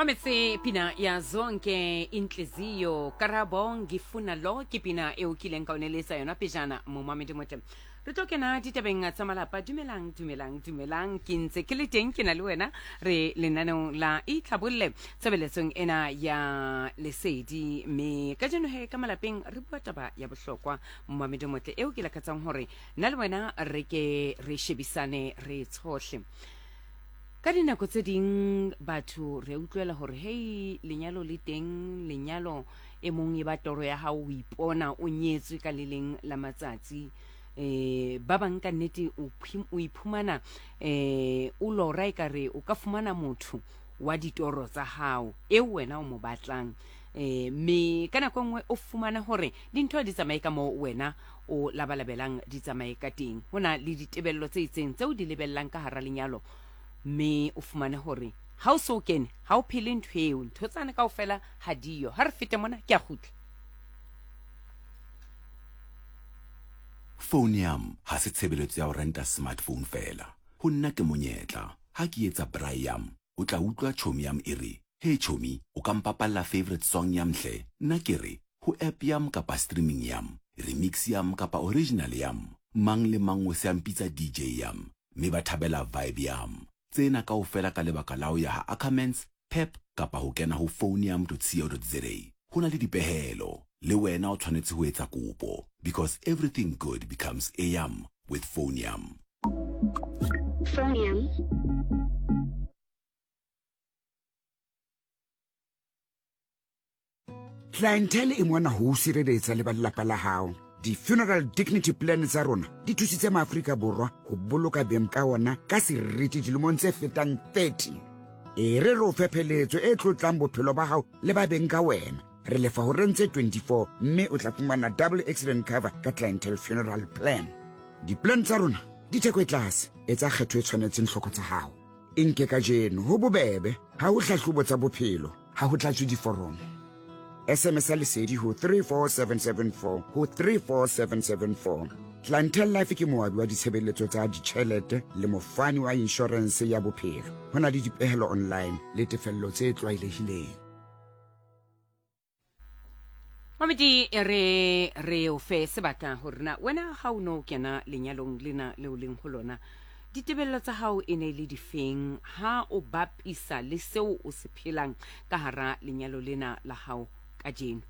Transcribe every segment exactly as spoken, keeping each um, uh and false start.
Mametse pina ya Zonke Inhliziyo Karabo Ngifuna Lo, ke pina eo kileng ka o neletsa yona pejana. Momamedi motle, re tlo kena ditabeng tsa malapa. Dumelang, dumelang, dumelang. Ke ntse ke le teng, ke na le wena, re lenaneong la Itlhabolle tshebeletsong ena ya Lesedi. Mme kajeno he ka malapeng re bua taba ya bohlokwa, momamedi motle, eo ke lakatsang hore nna le wena re ke re shebisane, re tshohle. Ka dinako tse ding batho re utlwela hore hei, lenyalo le teng, lenyalo e mong e ba toro ya hao, o ipona o nyetswe ka le leng la matsatsi. eh ba bang ka nnete o iphumana eh o lora ekare o ka fumana motho wa ditoro tsa hao eo wena o mo batlang, eh mme ka nako nngwe o fumana hore dintho di tsamaye ka moo wena o labalabelang di tsamaye ka teng. Ho na le ditebello tse itseng tseo di lebellang ka hara lenyalo, mme o fumane hore ha o so kene ha o phele ntho eo, ntho tsane kaofela ha diyo. Ha re fete mona, ke a kgutla. Phone yam ha se tshebeletso ya ho renta smartphone feela. Ho nna ke monyetla. Ha ke etsa braai yam, o tla utlwa chomi yam e re, "Hey chomi, o ka mpapalla favorite song yam hle?" Nna ke re, "Ho app yam kapa streaming yam, remix yam kapa original yam?" Mang le mang o se a mpitsa D J yam, mme ba thabela vibe yam. Tsena kaofela ka lebaka la ho ya ha Ackermans, Pep kapa ho kena ho phoneyam dot co dot za. Ho na le dipehelo. Le wena o tshwanetse ho etsa kopo, because everything good becomes a yam with Phoneyam. Phoneyam. Clientele e mona ho o sireletsa le ba lelapa la hao. Di-funeral dignity plan tsa rona di thusitse Maaforika Borwa ho boloka beng ka ona ka seriti dilemong tse fetang thirty. E re re o fe pheletso e tlotlang bophelo ba hao le ba beng ka wena. Re lefa horeng tse twenty-four, mme o tla fumana double accident cover ka Clientele funeral plan. Di-plan tsa rona di theko e tlase. Etsa kgetho e tshwanetseng hloko tsa hao, e nke ka jeno. Ho bobebe, ha ho hlahlobo tsa bophelo, ha ho tlatswe diforomo. S M S ya Lesedi ho three four seven seven four, ho three four seven seven four. Clientele Life ke moabi wa ditshebeletso tsa ditjhelete le mofani wa inshorense ya bophelo. Ho na le dipehelo online le tefello tse tlwaelehileng. Mamedi, e re re o fe sebaka hore na wena ha o no kena lenyalong lena leo leng ho lona, ditebello tsa hao e ne le difeng ha o bapisa le seo o se phelang ka hara lenyalo lena la hao kajeno?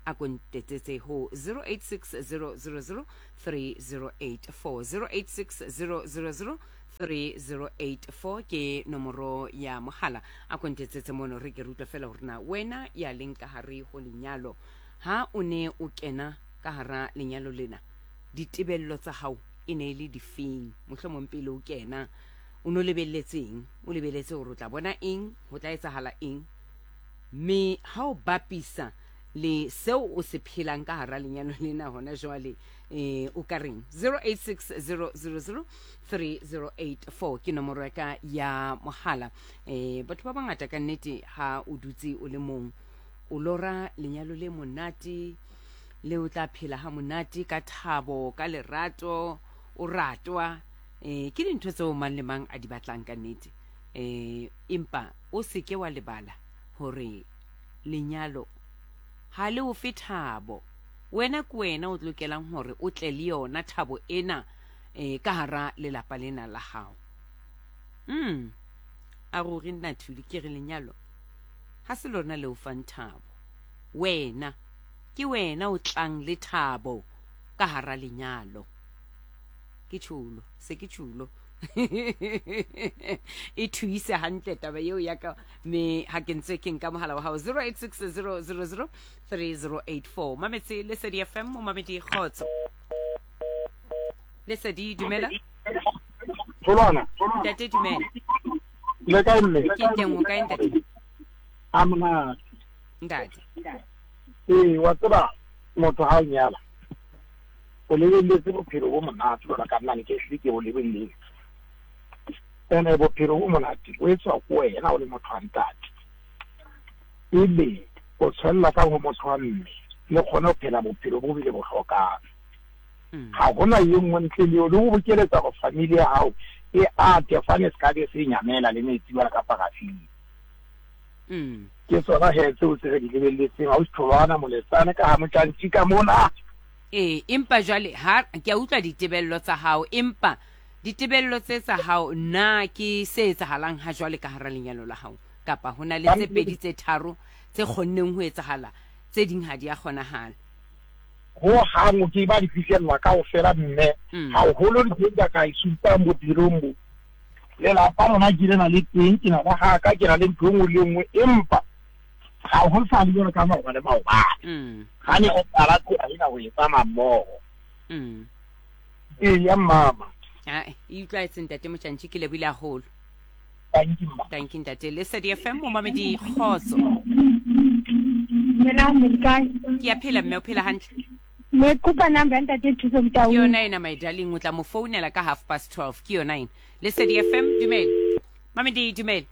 A ko ntetsetse ho zero eight six zero zero zero three zero eight four. zero eight six zero zero zero three zero eight four ke nomoro ya mohala. A ko ntetsetse mono, re ke re utlwa fela hore na wena ya leng ka hare ho lenyalo, ha o ne o kena ka hara lenyalo lena, ditebello tsa hao e ne e le difeng? Mohlomong pele o kena o no lebelletseng, o lebeletse hore o tla bona eng, ho tla etsahala eng, mme ha o bapisa le seo o se phelang ka hara lenyalo lena hona jwale, eh o ka reng? zero eight six zero zero zero three zero eight four ke nomoro ya ka ya mohala. eh batho ba bangata ka nnete, ha o dutse o le mong, o lora lenyalo le monate le o tla phela ha monate ka thabo, ka lerato, o ratwa. eh ke dintho tseo mang le mang a di batlang ka nnete. eh empa o seke wa lebala hore lenyalo ha le o fe thabo. Wena ke wena o lokelang hore o tle le yona thabo ena eh ka hara lelapa lena la hao. mm a ruri nna Thuli ke re lenyalo ha se lona le o fang thabo. Wena ke wena o tlang le thabo ka hara lenyalo. Ke tjhulo se ke tjhulo e thuise hantle taba eo ya ka. Mme ha ke ntse ke nka mohala wa hao, zero eight six zero zero zero three zero eight four. Mametse Lesedi F M. Momamedi, kgotso. Lesedi, dumela. Tholwana. Ntate, dumela. Le kae, mme? Ke teng, o kae, ntate? A monate. Ntate. Ee, wa tseba, motho ha o nyala o lebelletse bophelo bo monate. Jwalo ka nna, ne ke hlile ke bo lebelletse. Ene bophelo bo monate bo etswa ko wena o le motho wa ntate, ebe o tshwanela ka ho motho wa mme le kgone ho phela bophelo bo bile bo hlokang. Ha hona e nngwe ntle le eo, le ho bokeletsa hore family ya hao e ate fane, se ka be se nyamela le metsi jwalo ka parafini. Mm. Ke tsona he tseo tse re di lebelletseng ha o tholwana moletsane ka ha motjantshi ka mona. Ee, empa jwale ha ke a utlwa ditebello tsa hao, empa ditebello tse tsa hao na ke se etsahalang ha jwale ka hara lenyalo la hao, kapa ho na le tse pedi tse tharo tse kgonneng ho etsahala, tse ding ha di a kgonahala? Ho hang ke ba di fihlella kaofela mme haholo ntho e ka e supang bophelong bo. Lelapa lona ke lena le teng, ke na le ha ka ke na le ntho e nngwe le e nngwe, empa ha ho sa le jwalo ka maobane maobane. Ha ne o qala tsela ena ho e tsamaya mmoho. Ee, ya mama. Ae, e utlwaetse ntate Motjantshi, ke lebohile haholo. Thank you, mma. Thank you, ntate. Lesedi F M, momamedi kgotso. Dumelang, le kae? Ke a phela mme, o phela hantle? Me kopa number ya ntate Thuso Motaung. Ke yona ena, my darling, o tla mo founela ka half past twelve. Ke yona ena. Lesedi F M, dumela. Mamedi, dumela.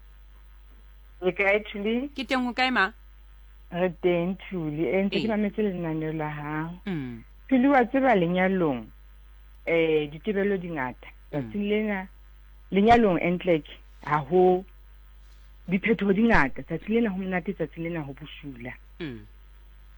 Le kae, Thuli? Ke teng, ho kae ma? Re teng, Thuli. E ntse ke mametse lenaneo la hao. Mm. Thuli, wa tseba lenyalong eh ditebello di ngata. Tsatsing lena lenyalong entlek ha ho diphetoho di ngata. Tsatsing lena ho monate, tsatsing lena ho bosula. Mm.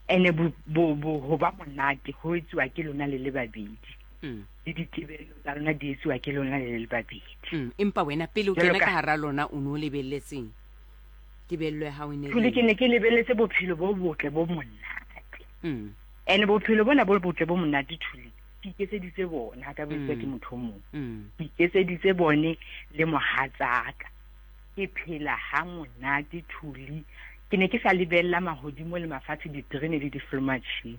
Ene bo bo ho ba monate ho etsuwa ke lona le le babedi. Mm. Le ditebello tsa lona di etsuwa ke lona le le babedi. Mm. Empa wena pele o kena ka hara lona o no lebelletseng tebello ya hao e ne le? Ke ne ke lebelletse bophelo bo botle bo monate. Mm. Ene bophelo bona bo botle bo monate, Thuli, ke iketseditse bona, ha ka bo etsuwa ke motho o mong. Ke iketseditse bone le mohatsaka. Ke phela ha monate, Thuli. Ke ne ke sa lebella mahodimo le mafatshe, diterene le diflomatjhini.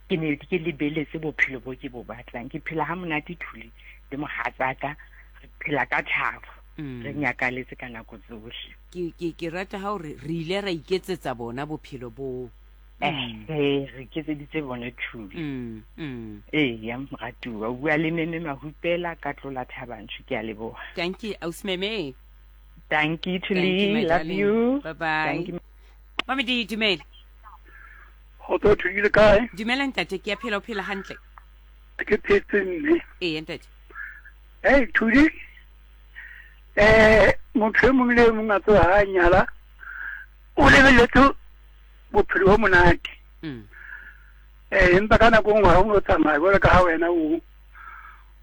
Ke ne ke lebelletse bophelo bo ke bo batlang. Ke phela ha monate, Thuli, le mohatsaka. Re phela ka thabo. Re nyakaletse ka nako tsohle. Ke ke ke rata ha hore re ile ra iketsetsa bona bophelo bo. Eh, re iketseditse bona, Thuli. Mm, mm. Eh, ya moratuwa, o bua le Meme Mahupela ka tlola Thabanchu, ke a leboha. Thank you, ausi Meme. Thank you, Thuli. Love you. Bye bye. Thank you. Mamedi, dumela. Kgotso, Thuli, le kae? Dumela ntate, ke a phela, o phela hantle? Ke phetse mme. Ee, ntate. Hey, Thuli. Eh, motho e mong le e mong a tseba ha a nyala, o lebelletse bophelo bo monate. Mm. Eh, empa ka nako nngwe ha o no tsamaya jwalo ka ha wena o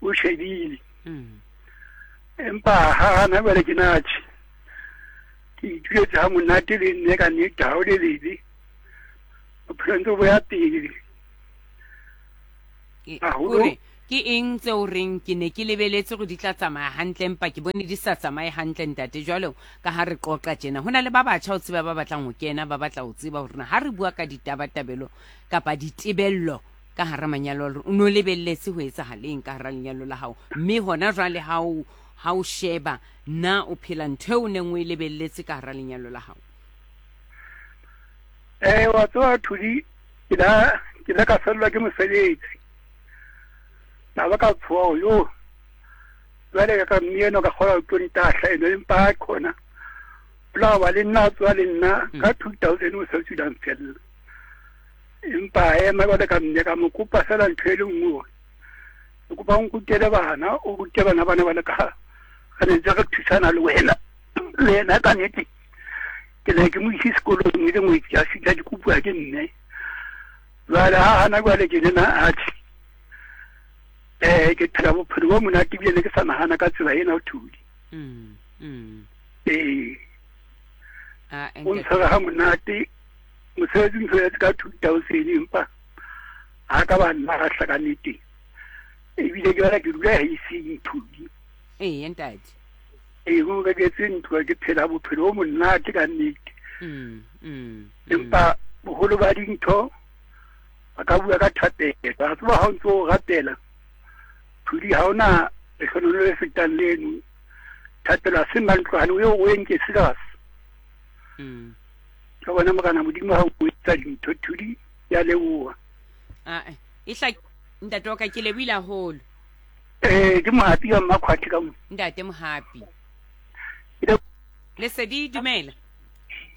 o shebile. Mm. Empa ha hana jwale ke natjhe. Ke ituletse ha monate le nne ka nnete, ha o le lebe. Bophelo ntse bo ya pele. Haholo. Ke eng tseo reng ke ne ke lebeletse hore di tla tsamaya hantle, empa ke bone di sa tsamaye hantle ntate? Jwalo ka ha re qoqa tjena, ho na le ba batjha o tseba ba batlang ho kena, ba batla ho tseba hore na ha re bua ka ditabatabelo kapa ditebello ka hara manyalo, o no lebelletse ho etsahaleng ka hara lenyalo la hao, mme hona jwale ha o ha o sheba na o phela ntho eo o neng o e lebelletse ka hara lenyalo la hao? Eh, wa tseba Thuli, ke la ke la ka fellwa ke mosebetsi. Na ba ka tshoha yo. Jwale ka mme eno ka kgona ho tlo ntahla eno, empa ha khona. La ba le nna tswa le nna ka two thousand o se tswang fella. Empa ema jwale ka mme ka mo kopa fela ntho e le nngwe hore ke kopa o nkutele bana, o rute bana bana ba le ka re ne ntse re thusana le wena. Le yena ka nnete ke ne ke mo ise sekolong e le ngwetsi a fihla dikopuwa ke mme. Jwale ha hana jwale ke lena atjhe. Eh, ke phela bophelo bo monate ebile ne ke sa nahana ka tsela ena, Thuli. Mm, mm. Ee. Ah, o ntshwere ha monate, mosebetsi o ntshwere ka two thousand, empa ha ka ba nna lahla ka nnete. Ebile ke batla ke dula haiseng, Thuli. Ee, ntate. Ee, o reketse ntlo, ke phela bophelo bo monate ka nnete. Mm, mm. Empa boholo ba dintho ba ka bua ka thapelo. Wa tseba ha o ntso o rapela, Thuli, ha ona lehlohonolo le fetang leno. Thapelo ha se mantlwane, o eo o e nke serious. Mm. Ka bona Morena Modimo ha o etsa dintho, Thuli, ya leboha. Ah, e hla ntate wa ka, ke lebohile haholo. Eh, ke Mohapi wa Mmakhwathe ka mo. Ntate Mohapi. Lesedi, dumela.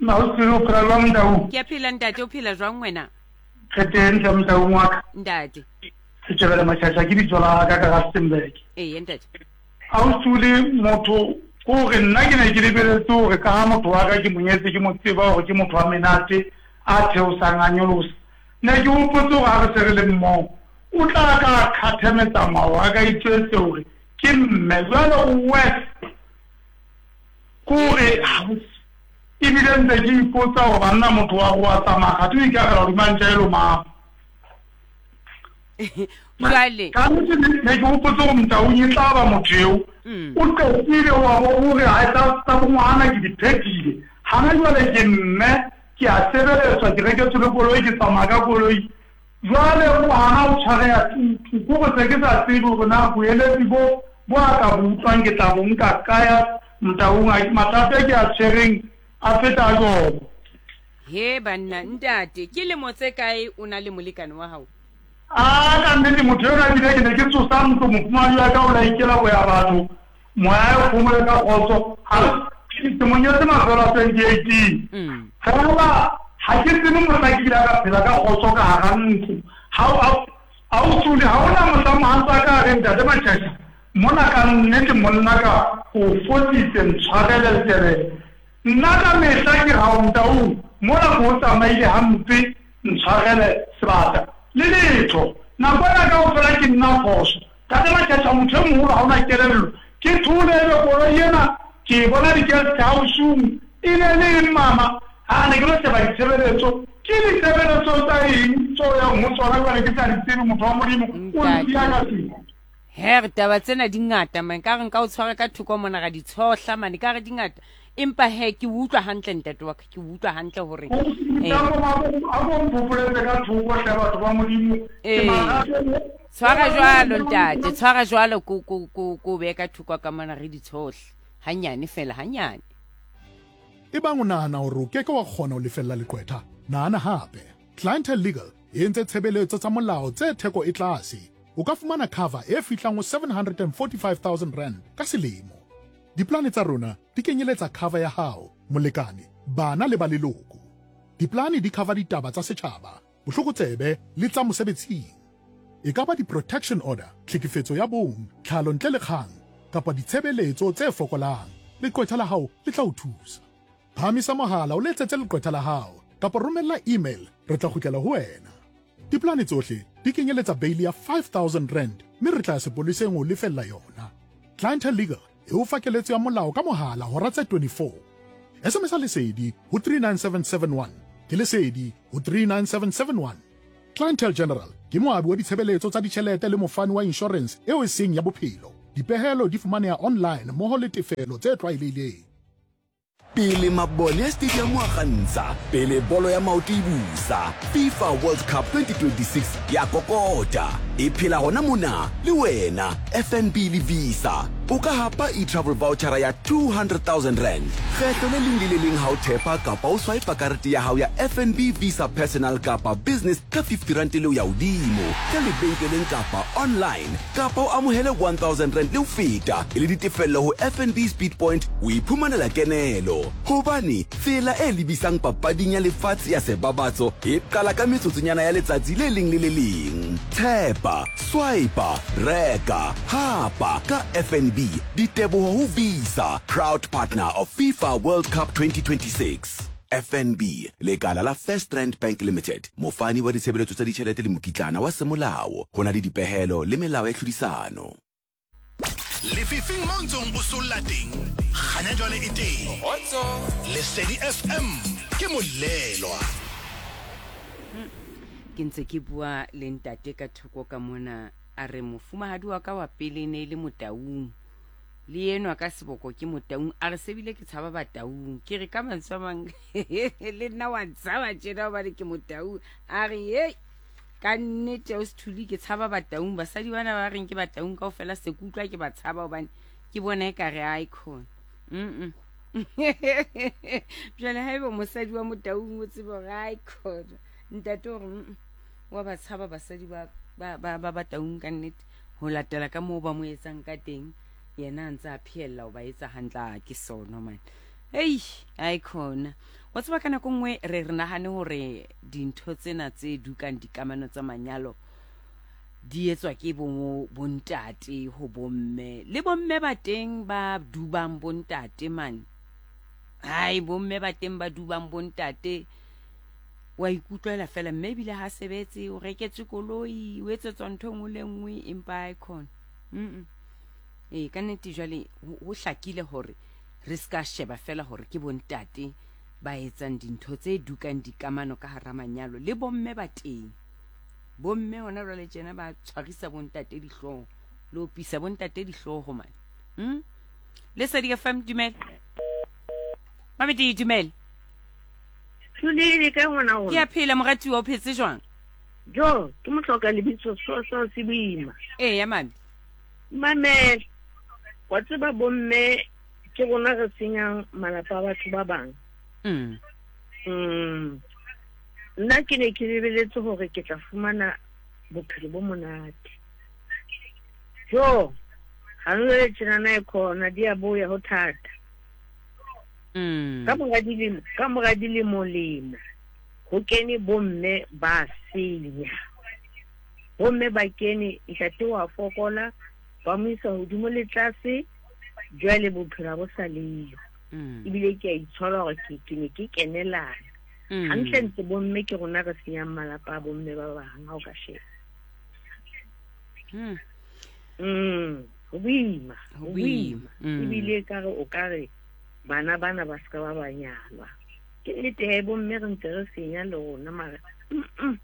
Mausi, o phela jwang Ntau? Ke a phela ntate, o phela jwang wena? Re teng hle Motaung wa ka. Ntate. Setjhabela Matjhatjha ke bitso la ka ka Rustenburg. Ee, ntate. Ha o sule motho Ke gore nna ke ne ke lebeletse gore ka ga motho wa ka ke monyetse ke mo tseba gore ke motho wa menate a theosang a nyolosa. Ne ke hopotse gore ha re se re le mmogo o tla ka kgathe metsamao a ka itjwetse hore ke mme jwale o worse. Kore ebile ntse ke ipotsa gore banna motho wa go wa tsamaya ga o ikagela hodima ntja e lomang. Jwale ka nnete ne ke hopotse gore Motaung e tla ba motho eo o qetile wa bo hore ha tsa tsa bongwana ke di phethile. Hana jwale ke mme ke a sebeletswa ke reketswe le koloi ke tsamaya ka koloi. Jwale o hana o tshwareha tutu kore se ke sa tsebe hore na boeletsi bo bo a ka bo utlwang ke tla bo nka kaya Motaung a mathata ke a tshwereng a feta a jobo. He banna ntate ke lemo tse kae o na le molekane wa hao? A ka nnete motho ena ebile ke ne ke tsosa ntlo mofumahadi wa ka o la ikela ho ya batho moya o phomole ka kgotso. Ha ke mo nyetse mafelo a twenty eighteen. Fela ha ke tsebe mohla ke ile ka phela ka kgotso ka hara ntlo. Ha ha o tsule ha hona mohla mohatsa ka re ntate Matjhatjha mona ka nnete monna ka o fositse ntshwarele letebele. Nna ka mehla ke ra o Motaung mona ko o tsamaile hampe ntshwarele sebata le letho. Nako ena kaofela ke nna phoso. Ntate Matjhatjha motho e moholo ha ona kelello. Ke thole ebe koloi ena ke bona di-guest house-ong e ne le eng mama? Ha ne ke lo sheba ditshebeletso. Ke ditshebeletso tsa eng tseo yang ho tsona jwale ke sa di tsebe motho wa Modimo o nsiya ka seng. He re taba tsena di ngata man ka re nka o tshwara ka thoko mona ra di tshohla mane ka re di ngata empa he ke utlwa hantle ntate wa ka ke utlwa hantle hore eh a bo mpopoletse ka thoko hle batho ba Modimo ke tshwara jwalo ntate tshwara jwalo ko ko ko ko be ka thoko ka mona re di tshohle hanyane fela hanyane. Ebang o nahana hore o ke ke wa kgona ho lefella leqwetha, nahana hape. Clientele Legal e entse tshebeletso tsa molao tse theko e tlase. O ka fumana cover e fihlang ho seven hundred forty-five thousand rand ka selemo. Diplane tsa rona di kenyeletsa cover ya hao, molekane, bana le ba leloko. Diplane di cover ditaba tsa setjhaba, bohlokotsebe le tsa mosebetsing. E ka ba di-protection order, tlhekefetso ya bong, tlhalo ntle le kgang, kapa ditshebeletso tse fokolang. Leqwetha la hao le tla o thusa. Phahamisa mohala o letsetse leqwetha la hao kapa romella email, re tla kgutlela ho wena. Diplane tsohle di kenyeletsa bail ya five thousand rand mme re tla ya sepoleseng ho lefella yona. Clientele Legal e o fa keletso ya molao ka mohala hora tse twenty-four. S M S Lesedi ho three nine seven seven one. Ke Lesedi ho three nine seven seven one. Clientele General ke moabi wa ditshebeletso tsa ditjhelete le mofani wa insurance eo e seng ya bophelo. Dipehelo di fumaneha online mmoho le tefelo tse tlwaelehileng. Pele mabone a stadium wa kgantsha, pele bolo ya maoto e busa, FIFA World Cup twenty twenty-six ya kokota. E phela hona mona le wena F N B le Visa. O ka hapa e-travel voucher ya two hundred thousand rand. Kgetho le leng le le leng ha o thepa kapa o swipe karete ya hao ya F N B Visa Personal kapa Business ka fifty rand le ho ya hodimo, ka lebenkeleng kapa online, kapa o amohele one thousand rand le ho feta e le ditefello ho F N B Speed Point o iphumanela kenelo. Hobane tsela e lebisang papading ya lefatshe ya sebabatso e qala ka metsotsonyana ya letsatsi le leng le le leng. Thepa, swipe, reka, hapa ka F N B. Diteboho ho Visa, proud partner of FIFA World Cup twenty twenty-six. F N B, lekala la First Rand Bank Limited, mofani wa ditshebeletso tsa ditjhelete le mokitlana wa semolao. Ho na le dipehelo le melao ya tlhodisano. Lefifing mo ntsong o solla teng, kganya jwale e teng. Lesedi F M ke molelwa. Ke ntse ke bua le ntate ka thoko ka mona a re mofumahadi wa ka wa pele ne le Motaung. Le enwa ka seboko ke Motaung a re sebile ke tshaba Bataung. Ke re ka mantswe a mang le nna wa ntshaba tjena hobane ke Motaung. A re hey ka nnete o sethuli ke tshaba Bataung. Basadi bana ba reng ke Bataung kaofela se ke utlwa ke ba tshaba hobane ke bona ekare a ikhona. Mm. Jwale haeba mosadi wa Motaung o tsebe hore a ikhona. Ntate o re wa ba tshaba basadi ba ba ba ba Bataung ka nnete ho latela ka moo ba mo etsang ka teng. Yena a ntse a phehella ho ba etsa hantle ke sono man. Ei, ai khona. Wa tseba ka nako nngwe re re nahane hore dintho tsena tse dukang dikamano tsa manyalo di etswa ke bo bontate ho bomme le bomme ba teng ba dubang bontate man. Hai bomme ba teng ba dubang bontate wa ikutlwela fela mme ebile ha sebetse o reketse koloi o etsetswa ntho nngwe le nngwe empa icon. Mm. Eh ka nnete jwale ho hlakile hore re ska sheba fela hore ke bontate ba etsang dintho tse dukang dikamano ka hara manyalo le bomme ba teng. Bomme hona jwale tjena ba tshwarisa bontate dihlooho le opisa bontate dihlooho man. Mm? Lesedi F M dumela. Mame di dumela. Thuli le ka ngwana o. Ke a phela moratuwa o phetse jwang? Jo, ke mohloka lebitso so so se boima. Eh ya mame. Mame, wa tseba bomme ke rona re senyang malapa a batho ba bang. Mm. Mm. Nna ke ne ke lebeletse hore ke tla fumana bophelo bo monate. Jo, ha re tjena e khona di a boya ho thata. Mm. Ka mora dilemo, ka mora dilemo lemo ho kene bomme ba senya. Bomme ba kene ntate wa fokola ba mo isa hodimo le tlase jwale bophelo bo sa leyo. Mm. Ebile ke a itshola hore ke ke ne ke kenelana. Mm. Hantle ntse bomme ke rona re senyang malapa a bomme ba bang ha o ka sheba. Mm. Mm. Ho boima, ho boima. Mm. Ebile ka re o ka re bana bana ba ska ba ba nyalwa. Ke nnete he bomme re ntse re senya le rona mara. Mm.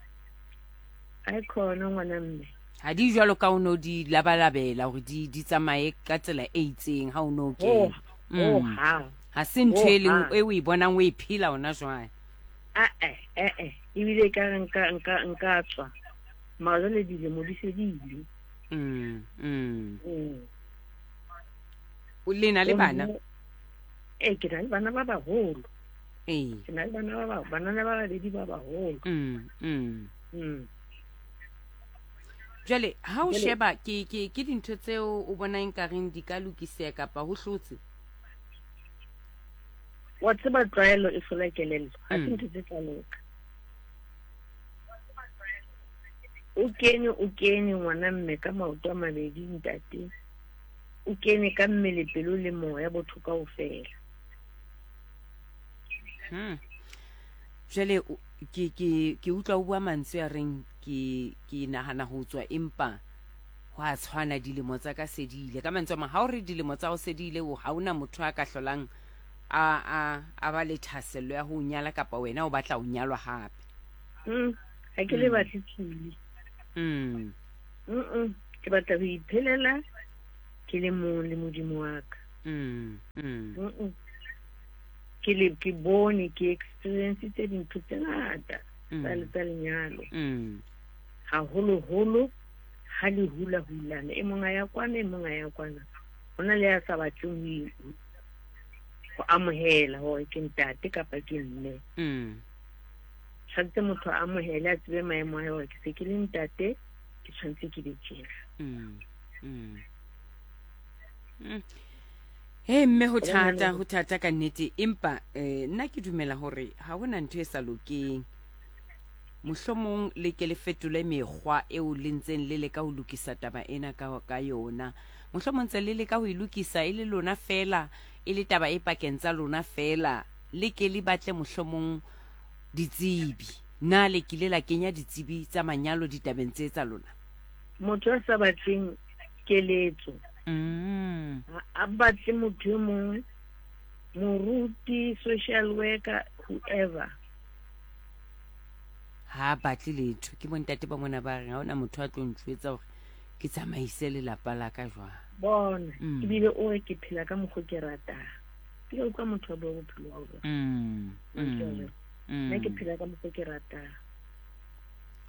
Ai khona ngwana mme. Ha di jwalo ka o no di labalabela hore di di tsamaye ka tsela e itseng ha o no ke. Oh, oh ha. Ha se ntho e leng Oh, ha. e o e bonang o e phela ona jwale. Ah eh eh eh ebile ka re nka nka nka tswa. Mara jwale dilemo di se di ile. Mm. Mm. Mm. O le na le bana? Eh ke na le bana ba baholo. Eh. Ke na le bana ba ba banana ba babedi ba baholo. Mm. Mm. Mm. Jwale ha o Jwale- sheba ke ke ke dintho tseo o bonang ka reng di ka lokiseha kapa ho hlotse? Wa tseba tlwaelo e hlola kelello. Ha se Mm. ntho tse tla loka. O kene o kene ngwana mme ka maoto a mabedi ntate. O kene ka mmele pelo le moya botho kaofela. Hmm. Jwale o- ke ke ke utlwa o bua mantswe a reng ke ke nahana ho tswa empa ho a tshwana dilemo tsa ka se di ile. Ka mantswe a mang ha o re dilemo tsa ho se di ile o ha ona motho a ka hlolang a a a ba le thahasello ya ho nyala kapa wena o batla ho nyalwa hape. Mm. Ha ke le Mm. batle tswile. Mm. Mm. Ke batla ho iphelela ke le mong le Modimo wa ka. Mm. Mm. Mm. Ke le ke bone ke experience tse dintho tse ngata tsa Mm. tsa lenyalo. Mm. Haholoholo ha le hula hulana e mong a ya kwana e mong a ya kwana. Hona le ya sa batleng ho i- ho amohela hore ke ntate kapa ke mme. Mm. Tshwanetse motho a amohele a tsebe maemo a hae hore ke se ke le ntate ke tshwanetse ke be tjena. Mm. Mm. Mm. He mme ho thata ho thata ka nnete empa eh nna ke dumela hore ha hona ntho e sa lokeng. Mohlomong le ke le fetole mekgwa eo le ntseng le leka ho lokisa taba ena ka ka yona. Mohlomong ntse le leka ho e lokisa e le lona fela e le taba e pakeng tsa lona fela le ke le batle mohlomong ditsebi. Na le kile la kenya ditsebi tsa manyalo ditabeng tse tsa lona? Motho a sa batleng keletso. Mm. Ha a batle motho e mongwe, moruti, social worker, whoever. Ha batle letho. Ke bontate ba mona ba reng ha hona motho a tlo ntjwetsa hore ke tsamaise lelapa la ka jwang. Bona, Mm. ebile o re ke phela ka mokgwa ke ratang. Ke utlwa motho a bua bophelo ba bona. Mm. Mm. Nna ke Mm. phela ka mokgwa ke ratang.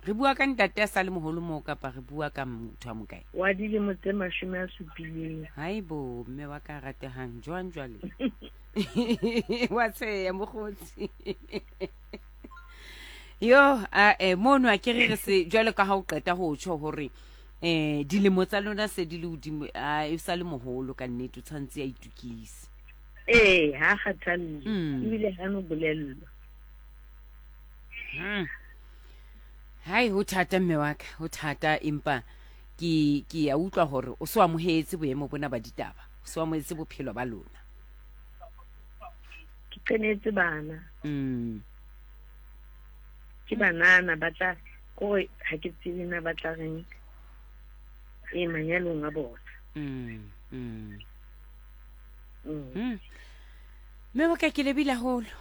Re bua ka ntate a sa le moholo moo kapa re bua ka motho a mokae? Wa dilemo tse mashome a supileng. Haibo, mme wa ka ratehang jwang jwale? Wa tsheya mokgotsi. Yo, a eh mono a ke re re se jwale ka ha o qeta ho tjho hore eh dilemo tsa lona se di le hodimo, a e sa le moholo ka nnete o tshwantse a itukise. Ee, ha kgathalle. Mm. Ebile ha no bolellwa. Hmm. Hai ho thata mme wa ka, ho thata empa Ke ke ya utlwa hore o so amohetse boemo bona ba ditaba, o so amohetse bophelo ba lona. Ke qenetse bana. Mm. Ke banana ba tla kore ha ke tsebe na ba tla reng e manyalong a bona. Mm. Mm. Mm. Mm. Mme wa ka ke lebile haholo.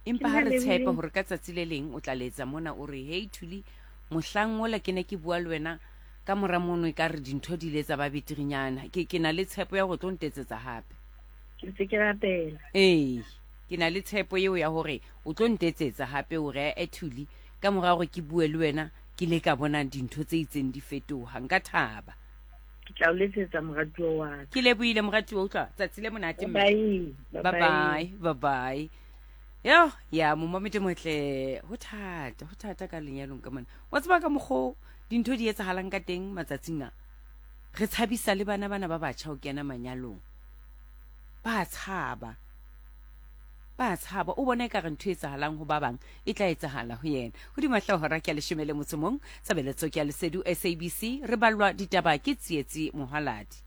Empa Ke ha re lebile. tshepe hore ka tsatsi le leng o tla letsa mona o re, "Hey Thuli, mohlang ola ke ne ke bua le wena ka mora mono e ka re dintho di ile tsa ba beterenyana." Ke ke na le tshepo ya hore o tlo ntetsetsa hape. Ke ntse ke rapela. Ee, ke na le tshepo eo ya hore o tlo ntetsetsa hape o re, "Eh Thuli, ka mora hore ke bue le wena ke le ka bona dintho tse itseng di fetoha." Nka thaba. Ke tla o letsetsa moratuwa wa ka. Ke lebohile moratuwa, utlwa tsatsi le monate mme. Bye Bye bye, bye bye. Yo, ya momamedi motle, ho thata, ho thata ka lenyalong ka mona. Wa tseba ka mokgo dintho di etsahalang ka teng matsatsing a. Re tshabisa le bana bana ba batjha ho kena manyalong. Ba tshaba. Ba tshaba, o bona ekare ntho e etsahalang ho ba bang e tla etsahala ho yena. Hodima hlooho hora ke ya leshome le motso mong, tshebeletso ke ya Lesedu S A B C, re ballwa ditaba ke Tsietsi Mohaladi.